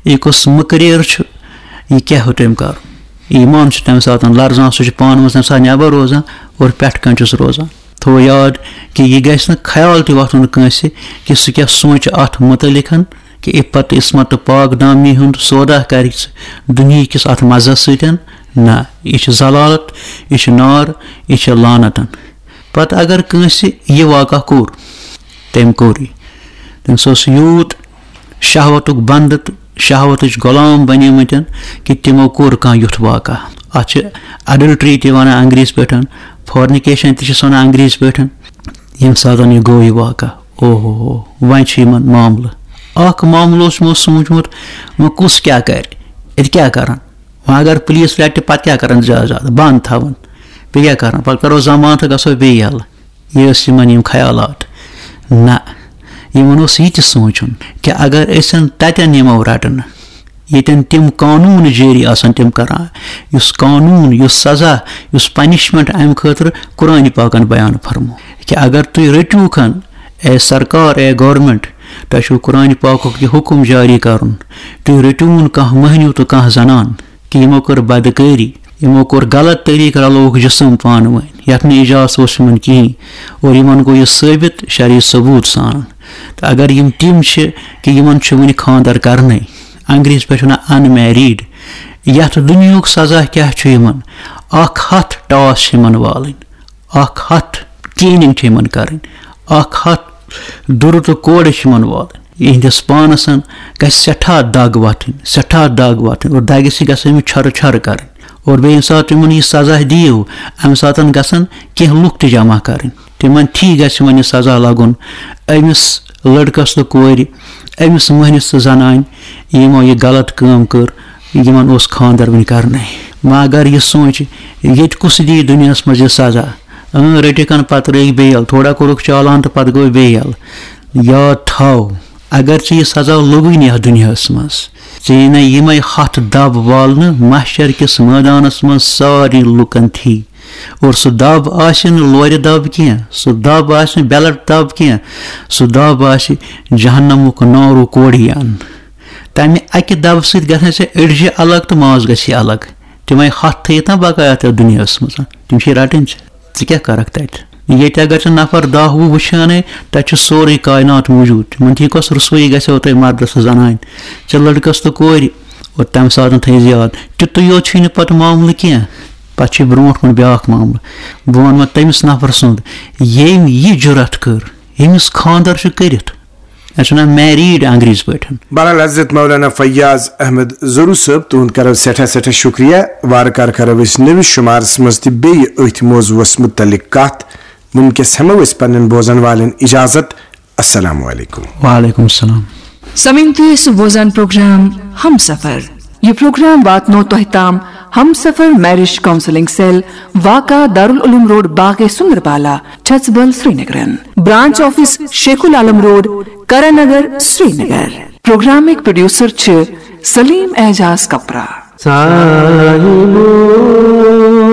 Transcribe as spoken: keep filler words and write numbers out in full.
یہِ کُس مُقرر چھُ، یہِ کیٛاہ ہیوٚت أمۍ کَرُن؟ ایمان چھُ تَمہِ ساتہٕ لرزان، سُہ چھُ پانہٕ منٛز تَمہِ ساتہٕ نٮ۪بر روزان اور پٮ۪ٹھٕ کَنہِ چھُس روزان۔ تھوٚو یاد کہِ یہِ گژھِ نہٕ خیال تہِ وۄتھُن کٲنٛسہِ کہِ سُہ کیٛاہ سونٛچہِ اَتھ مُتعلِقَن، کہِ عفت عصمت تہٕ پاک دامنی ہُنٛد سودا کَرِ سُہ دُنیہکِس اَتھ مَزَس سۭتۍ۔ نہ، یہِ چھِ ذلالت، یہِ چھِ نار، یہِ چھِ لعنتن۔ پتہٕ اگر کٲنٛسہِ یہِ واقعہ کوٚر، تٔمۍ کوٚر یہِ۔ تٔمِس اوس یوٗت شہوتُک بنٛدٕ تہٕ شہوتٕچ غلام بنیمٕتٮ۪ن کہِ تِمو کوٚر کانٛہہ یُتھ واقعہ۔ اَتھ چھِ adultery تہِ وَنان انگریٖزۍ پٲٹھۍ، fornication تہِ چھِس وَنان انگریٖزۍ پٲٹھۍ۔ ییٚمہِ ساتہٕ یہِ گوٚو یہِ واقعہ، اوہ ہو ہو، وۄنۍ چھُ یِمن معاملہٕ۔ اکھ معاملہٕ اوس یِمو سوٗنٛچمُت، وۄنۍ کُس کیٛاہ کرِ، اَتہِ کیٛاہ کرن؟ وۄنۍ اگر پُلیٖس رٹہِ، پتہٕ کیٛاہ کرن؟ زیادٕ زیادٕ بنٛد تھاوان، بیٚیہِ کیٛاہ کرن؟ پتہٕ کرو ضمانت تہٕ گژھو بیٚیہِ یَلہٕ۔ یہِ ٲسۍ یِمن یِم خیالات۔ نہ، یِمن اوس یہِ تہِ سونٛچُن کہِ اگر أسۍ تتٮ۪ن یِمو رٹنہٕ، ییٚتٮ۪ن تِم قانوٗن جٲری آسن تِم کران، یُس قانوٗن، یُس سزا، یُس punishment امہِ خٲطرٕ قرآنِ پاکن بیان فرمو، کہِ اگر تُہۍ رٔٹِوکھن، اے سرکار، اے government، تۄہہِ چھُو قرآنِ پاکُک یہِ حُکم جٲری کرُن، تُہۍ رٔٹِوُن کانٛہہ مٔہنیوٗ تہٕ کانٛہہ زنان، کہِ یِمو کٔر بدکٲری، یِمو کوٚر غلط طریٖقہٕ، رلووُکھ جسم پانہٕ ؤنۍ، یتھ نہٕ اجازت اوس یِمن کِہیٖنۍ، اور یِمن گوٚو یہِ ثٲبت شرعی ثبوت سان۔ تہٕ اگر یِم تِم چھِ کہِ یِمن چھُ وُنہِ خانٛدر کرنَے، انگریٖزۍ پٲٹھۍ وَنان unmarried، یَتھ دُنیاہُک سزا کیٛاہ چھُ یِمن؟ اکھ ہتھ ٹاس چھِ یِمن والٕنۍ، اکھ ہتھ caning چھِ یِمن کرٕنۍ، اکھ ہتھ دُرٕ تہٕ کورِ چھِ یِمن والٕنۍ۔ یِہنٛدِس پانس گژھِ سٮ۪ٹھاہ دگ وۄتھٕنۍ، سٮ۪ٹھاہ دگ وۄتھٕنۍ، اور دگہِ سۭتۍ گژھِ أمِس چھۄرٕ چھۄرٕ کرٕنۍ۔ اور بیٚیہِ ییٚمہِ ساتہٕ تِمن یہِ سزا دِیِو، امہِ ساتہٕ گژھن کینٛہہ لُکھ تہِ جمع کرٕنۍ۔ تِمن تھی گژھِ وۄنۍ یہِ سزا لگُن، أمِس لڑکس تہٕ کورِ، أمِس مۄہنِس تہٕ زنانہِ، یِمو یہِ غلط کٲم کٔر، یِمن اوس خانٛدر وُنہِ کرنَے۔ وۄنۍ اگر یہِ سونٛچہِ، ییٚتہِ کُس دِیہِ دُنیاہس منٛز یہِ سزا؟ اۭں، رٔٹِکھ ہن پتہٕ رٔٹۍ بیل، تھوڑا کوٚرُکھ چالان تہٕ پتہٕ گوٚو بیل۔ یاد تھاو، اگر ژےٚ یہِ سزا لوٚگُے نہٕ یتھ دُنیاہس منٛز، ژےٚ یی نہ یِمے ہتھ دب والنہٕ محشر کِس مٲدانس منٛز سارنٕے لُکن تھی۔ اور سُہ دب آسہِ نہٕ لورِ دب کینٛہہ، سُہ دب آسہِ نہٕ بیلٹ دب کینٛہہ، سُہ دب آسہِ جہنمُک نارُک کوڑیان۔ تمہِ اکہِ دبہٕ سۭتۍ گژھن ژےٚ أڈجہِ الگ تہٕ ماز گژھی الگ۔ تِمے ہتھ تھٲیِتھ نا بقایا تتھ دُنیاہس منٛز، تِم چھِ رٹٕنۍ ژےٚ۔ ژٕ کیٛاہ کرکھ تتہِ؟ ییٚتہِ اگر ژٕ نفر دَہ وُہ وٕچھانَے، تَتہِ چھُ سورُے کاینات موٗجوٗد۔ تِمن تھی کۄس رسوٲیی گژھیو تۄہہِ مردس تہٕ زنانہِ؟ ژےٚ لڑکس تہٕ کورِ۔ اور تَمہِ ساتہٕ تھٲیِو یاد، تیُتُے یوت چھُے نہٕ پتہٕ معاملہٕ کینٛہہ، پتہٕ چھُے برونٛٹھ کُن بیٛاکھ معاملہٕ۔ بہٕ وَنہٕ وۄنۍ تٔمِس نفرٕ سُنٛد، ییٚمۍ یہِ جُرت کٔر، ییٚمِس خانٛدر چھُ کٔرِتھ۔ اَتھ چھِ وَنان married انگریٖزۍ پٲٹھۍ۔ بہرحال حضرت مولانا فیاض احمد ضروٗ صٲب، تُہُنٛد کرو سٮ۪ٹھاہ سٮ۪ٹھاہ شُکریہ۔ وارٕ کارٕ کرو أسۍ نٔوِس شُمارس منٛز تہِ بیٚیہِ أتھۍ موضوعس مُتعلق کتھ۔ وٕنکیٚس ہٮ۪مو أسۍ پننٮ۪ن بوزن والٮ۪ن اجازت۔ السلام علیکم۔ وعلیکم السلام۔ سمعین تُہۍ ٲسِو بوزان پروگرام ہم سفر۔ یہِ پروگرام واتنو تۄہہِ تام ہم سفر میرج کاؤنسلنگ سیل، واقع دارالعلوم روڈ، باغے سندربالا، چھژبل، سرینگرن۔ Branch office Sheikh ul Alam road, Karan Nagar, Srinagar. پروگرامٕکۍ پروڈیوسر چھِ سلیم اعجاز کپرا۔ صاحبو۔